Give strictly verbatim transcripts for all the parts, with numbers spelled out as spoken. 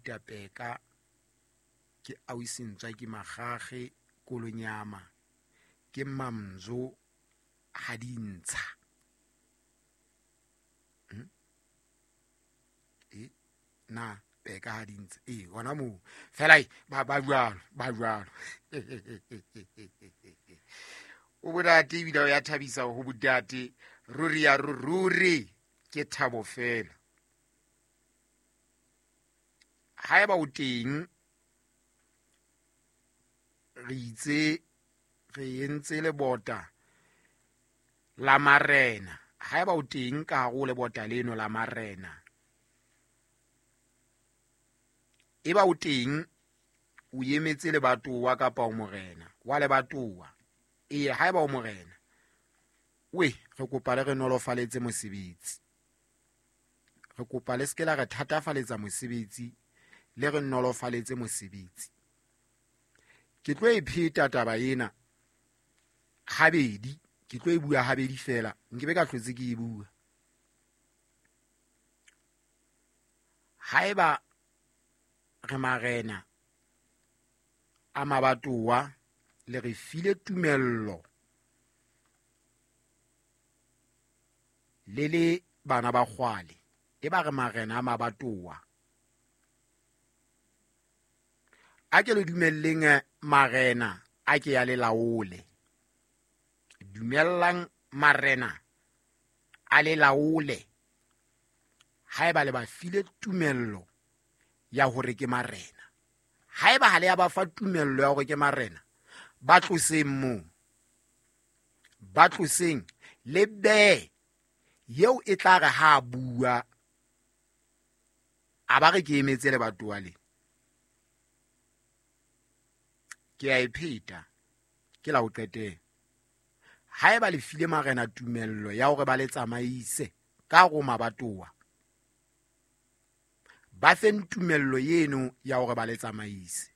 Gauta Peka, ke ausi Ntswaki Makgakge Kolonyama, ke Mamzo ha di ntsha. Hmm? E na Peka ha di ntsha. E hona moo fela ba ba jwalo, ba jwalo. O bodate ebile o ya thabisa ho bodate, ruri ya ruri ke thabo fela. Haeba o teng, re itse re entse lebota la marena. Haeba o teng ka hare ho lebota leno la marena, eba o teng o emetse lebatowa kapa o morena wa lebatowa. Ee, haeba o morena, we re kopa le re nolofaletse mosebetsi, re kopa le se ke la re thatafaletsa mosebetsi, le re nolofaletse mosebetsi. Ke tlo e pheta taba ena habedi, ke tlo e bua habedi fela, nkebe ka hlotse ke e bua. Haeba re marena a mabatowa, le re file tumello le le bana ba kgwale, e ba re marena a mabatowa, a ke le dumelleng marena a ke ya le laole. Dumellang marena a le laole haeba le ba file tumello ya hore ke marena. Haeba ha le ya ba fa tumello ya hore ke marena, ba tloseng moo, ba tloseng le behe eo e tla re ha bua a ba re ke emetse lebatowa le. Ke a e pheta, ke la ho qetela. Haeba le file marena tumello ya hore ba le tsamaise ka ho mabatowa, ba feng tumello eno ya hore ba le tsamaise.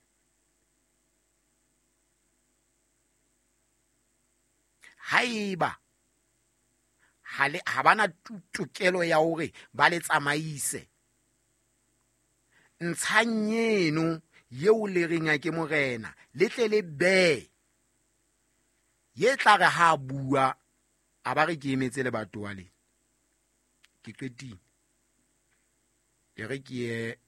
Haeba ha le, ha bana tokelo ya hore ba le tsamaise, ntshang eno eo le reng a ke morena, le tle le behe ye tla re ha bua a ba re ke emetse lebatowa le. Ke qetile, e re ke ye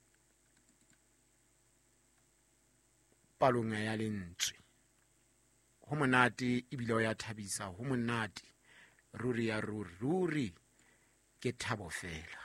palong ya lentswe. Ho monate ebile o ya thabisa, ho monate ruri ya ruri, ruri ke thabo fela.